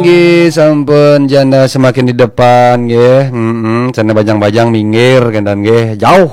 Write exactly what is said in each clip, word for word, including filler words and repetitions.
Nggih, sampun janda semakin di depan nggih. Heeh, sana bajang-bajang minggir kenten nggih. Jauh.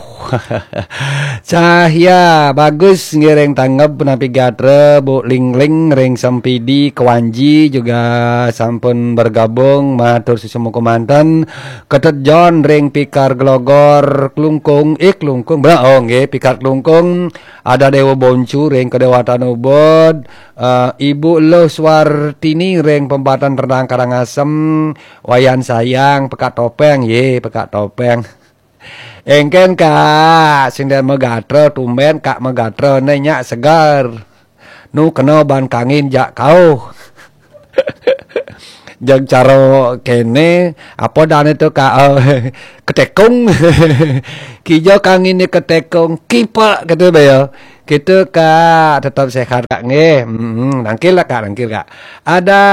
Cahya bagus nggih ring tanggep punapi gatra, Bu Lingling ring Sempidi, Kewanji juga sampun bergabung, matur suksma kemanten. Ketut John ring Pikar Glogor Klungkung, eh Klungkung, bra, oh nggih, Pikar Klungkung, ada Dewa Boncu ring Kedewatan Ubud, eh, Ibu Luh Swartini ring Pempatan Rendang Karangasem, Wayan Sayang, Pekak Topeng, ye, Pekak Topeng. Engken Kak, sing dadi magatra, tumben Kak magatra, ne nyak segar. Nu kena ban kangin jak kauh. Jeg cara kene, apa dane tu Kak, eh, ketekung. Kija kangin ni ketekung, kipak kata baya. Kita Kak tetap sehat Kak nggih. Hmm, nangkil lah Kak, nangkil Kak. Ada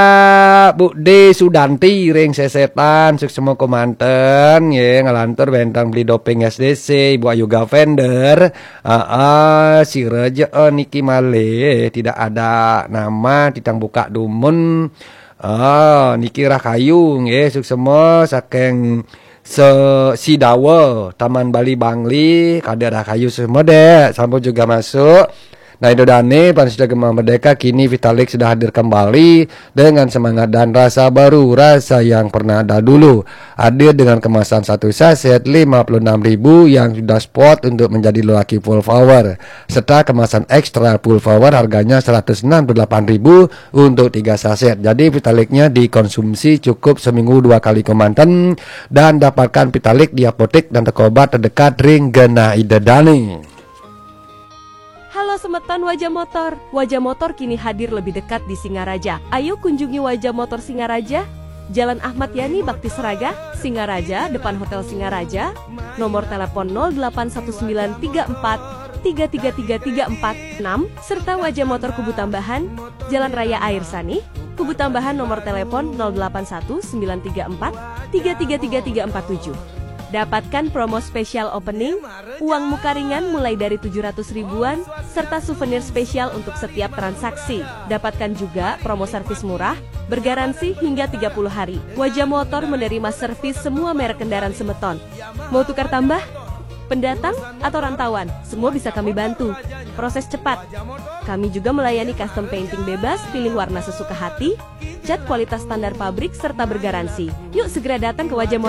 Bu D Sudanti ring Sesetan, suksma kemanten nggih, ngalantur wenten Beli Doping S D C, Ibu Ayu Gavender. Aa, sira ja, eh, niki malih tidak ada nama, titang buka dumun. Ah, niki Rahayu nggih, suksma saking se-, Sidawa, Taman Bali Bangli, kada Rahayu semua dek, sampun juga masuk. Nah, Indo Dane, Pansida Gema Merdeka, kini Vitalik sudah hadir kembali dengan semangat dan rasa baru, rasa yang pernah ada dulu. Hadir dengan kemasan satu saset lima puluh enam ribu yang sudah spot untuk menjadi lelaki full power, serta kemasan extra full power harganya seratus enam puluh delapan ribu untuk tiga saset. Jadi Vitaliknya dikonsumsi cukup seminggu dua kali kemanten dan dapatkan Vitalik di apotek dan toko obat terdekat ring genah Ida Dane. Halo semeton Wajah Motor. Wajah Motor kini hadir lebih dekat di Singaraja. Ayo kunjungi Wajah Motor Singaraja, Jalan Ahmad Yani Bakti Seraga, Singaraja, depan Hotel Singaraja. Nomor telepon nol delapan satu sembilan tiga empat tiga tiga tiga tiga empat enam, serta Wajah Motor Kubu Tambahan, Jalan Raya Air Sani, Kubu Tambahan, nomor telepon nol delapan satu sembilan tiga empat tiga tiga tiga tiga empat tujuh. Dapatkan promo spesial opening, uang muka ringan mulai dari tujuh ratus ribuan, serta souvenir spesial untuk setiap transaksi. Dapatkan juga promo servis murah, bergaransi hingga tiga puluh hari. Wajah Motor menerima servis semua merek kendaraan semeton. Mau tukar tambah? Pendatang atau rantauan, semua bisa kami bantu. Proses cepat. Kami juga melayani custom painting bebas, pilih warna sesuka hati, cat kualitas standar pabrik, serta bergaransi. Yuk segera datang ke Wajah Motor.